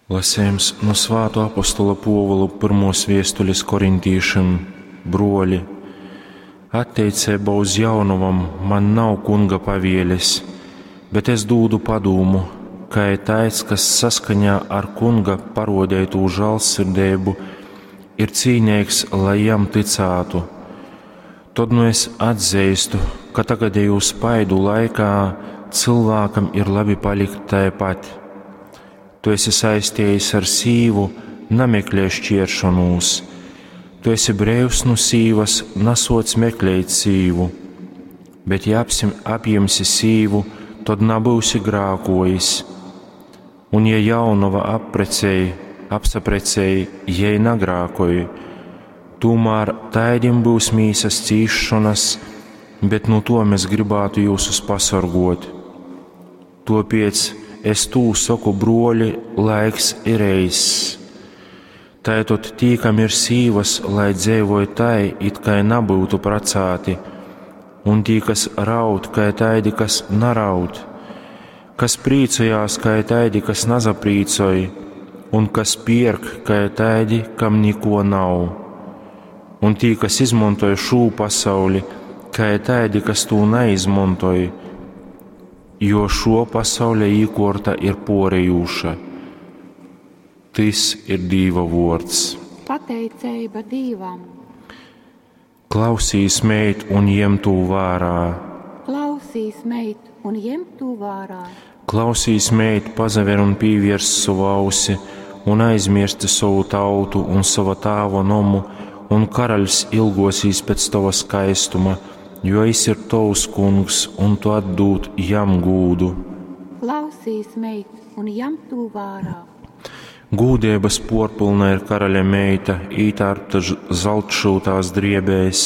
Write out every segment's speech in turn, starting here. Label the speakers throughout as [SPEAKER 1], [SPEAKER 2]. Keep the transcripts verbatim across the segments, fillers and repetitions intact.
[SPEAKER 1] Lasejums nu Svātuo apostola Puovula pyrmuos viestulis korintīšim. Bruoli, atteiceibā uz jaunovom man nav Kunga pavielis, bet es dūdu padūmu, kai taids, kas saskaņā ar Kunga paruodeitū žālsirdeibu ir cīneigs, lai jam tycātu. Tod nu es atzeistu, ka tagadejū spaidu laikā cylvākam ir labi palikt taipat. Tu esi saistējis ar sīvu, nameklē šķieršonūs. Tu esi breivs nu sīvas, nasoc meklēt sīvu. Bet ja apsim, apjimsi sīvu, tod nabyusi grākojis. Un ja jaunova apprecēj, apsaprecēj, jei nagrākoj, tūmār taidim būs mīsas cīšanas, bet nu to mēs gribētu jūsus pasorgot. Topiec es tū saku, bruoļi, laiks ir eiss. Tātad tī, kam ir sīvas, lai dzeivoja tai, it kai nabūtu pracāti, un tī, kas raud, kai taidi, kas naraud, kas prīcojās, kai taidi, kas nazaprīcoj, un kas pierk, kai taidi, kam niko nav. Un tī, kas izmontoj šū pasauli, kai taidi, kas tū neizmontoj, jo šo pasauļa īkorta ir porejūša. Tys ir Dīva vuords.
[SPEAKER 2] Pateiceiba Dīvam.
[SPEAKER 1] Klausīs, meit, un jem tū vērā.
[SPEAKER 2] Klausīs, meit, un jem tū vērā.
[SPEAKER 1] Klausīs, meit, pazaver un pīviers savu ausi, un aizmirsti savu tautu un sava tāva nomu, un karaļs ilgosīs pēc tava skaistuma, jo es ir tavs kungs, un tu atdūd jam gūdu.
[SPEAKER 2] Klausīs, meit, un jam tū vērā.
[SPEAKER 1] Gūdības porpilna ir karaļa meita, ītārpta zeltšūtās driebēs,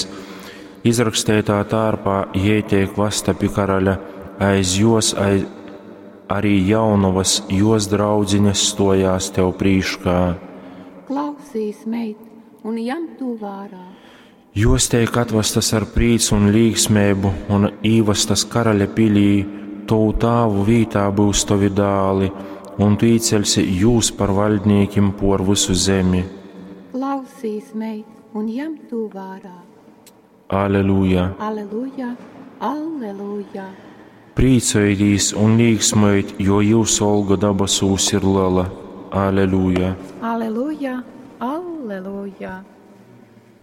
[SPEAKER 1] izrakstētā tārpā jei tiek vasta pie karaļa, aiz jos aiz, arī jaunovas, jos draudziņas stojās tev prīškā.
[SPEAKER 2] Klausīs, meit, un jam tū vērā.
[SPEAKER 1] Jos teik atvestas ar prīcu un līgsmību un īvestas karaļa pilī, tovu tāvu vītā būs tavi dāli, un tu īceļsi jūs par valdniekim por visu zemi.
[SPEAKER 2] Klausīs, meit, un jam tū vērā.
[SPEAKER 1] Aleluja!
[SPEAKER 2] Aleluja, aleluja!
[SPEAKER 1] Priecājieties un līgsmojiet, jo jūsu alga dabasūs ir liela. Aleluja!
[SPEAKER 2] Aleluja, aleluja!